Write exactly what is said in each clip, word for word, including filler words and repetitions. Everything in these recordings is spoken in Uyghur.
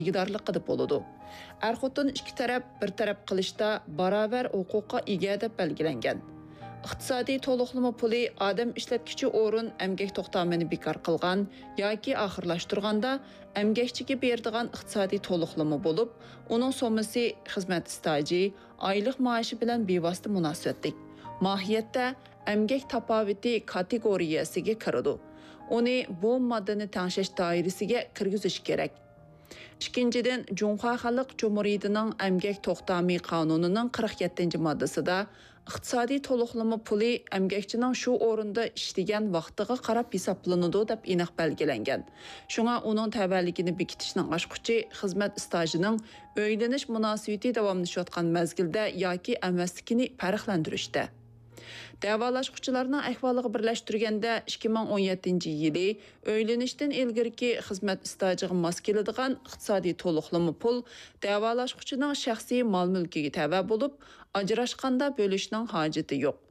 ئىگىدارلىقىدا بولىدۇ. ئەر-خوتۇن ئىككى تەرەپ بىر تەرەپ قىلىشتا باراۋەر ھوقۇققا ئىگە دەپ بەلگىلەنگەن. ئىقتىسادىي تولۇقلىما پۇلى ئادەم ئىشلەتكۈچى ئورۇن ئەمگەك توختامىنى بىكار قىلغان ياكى ئاخىرلاشتۇرغاندا ئەمگەكچىگە بېرىدىغان ئىقتىسادىي تولۇقلىما بولۇپ، ئۇنىڭ سوممىسى خىزمەت ئىستاژى، ئايلىق مائاشى بىلەن بىۋاسىتە مۇناسىۋەتلىك. ماھىيەتتە ئەمگەك تاپاۋىتى كاتېگورىيەسىگە كىرىدۇ. ئۇنى بۇ ماددىنى تەڭشەش دائىرىسىگە كىرگۈزۈش كېرەك. ئىككىنچىدىن، جۇڭخۇا خەلق جۇمھۇرىيىتىنىڭ ئەمگەك توختامى قانۇنىنىڭ قىرىق يەتتىنچى ماددىسىدا ئىقتىسادىي تولۇقلىما پۇلى ئەمگەكچىنىڭ شۇ ئورۇندا ئىشلىگەن ۋاقتىغا قاراپ ھېسابلىنىدۇ، دەپ ئېنىق بەلگىلەنگەن. شۇڭا ئۇنىڭ تەۋەلىكىنى بېكىتىشنىڭ ئاچقۇچى خىزمەت ئىستاژىنىڭ ئۆيلىنىش مۇناسىۋىتى داۋاملىشىۋاتقان مەزگىلدە ياكى ئەمەسلىكىنى پەرقلەندۈرۈشتە. دەۋالاشقۇچىلارنىڭ ئەھۋالىغا بىرلەشتۈرگەندە، ئىككى مىڭ ئون يەتتىنچى يىلى ئۆيلىنىشتىن ئىلگىرىكى خىزمەت ئىستاژىغا ماس كېلىدىغان ئىقتىسادىي تولۇقلىما پۇل دەۋالاشقۇچىنىڭ شەخسىي مال-مۈلكىگە تەۋە بولۇپ، ئاجراشقاندا بۆلۈشنىڭ ھاجىتى يوق.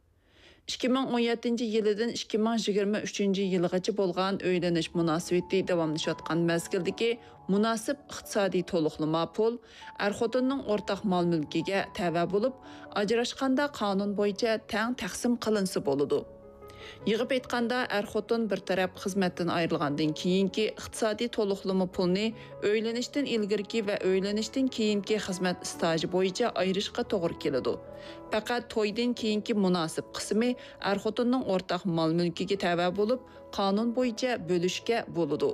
ئىككى مىڭ ئون يەتتىنچى يىلىدىن ئىككى مىڭ يىگىرمە ئۈچىنچى يىلغىچە بولغان ئۆيلىنىش مۇناسىۋىتى داۋاملىشىۋاتقان مەزگىلدىكى مۇناسىپ ئىقتىسادىي تولۇقلىما پۇل ئەر-خوتۇننىڭ ئورتاق مال-مۈلكىگە تەۋە بولۇپ، ئاجراشقاندا قانۇن بويىچە تەڭ تەقسىم قىلىنسا بولىدۇ. يىغىپ ئېيتقاندا، ئەر-خوتۇن بىر تەرەپ خىزمەتتىن ئايرىلغاندىن كېيىنكى ئىقتىسادىي تولۇقلىما پۇلنى ئۆيلىنىشتىن ئىلگىرىكى ۋە ئۆيلىنىشتىن كېيىنكى خىزمەت ئىستاژى بويىچە ئايرىشقا توغرا كېلىدۇ. پەقەت تويدىن كېيىنكى مۇناسىپ قىسمى ئەر-خوتۇننىڭ ئورتاق مال-مۈلكىگە تەۋە بولۇپ، قانۇن بويىچە بۆلۈشكە بولىدۇ.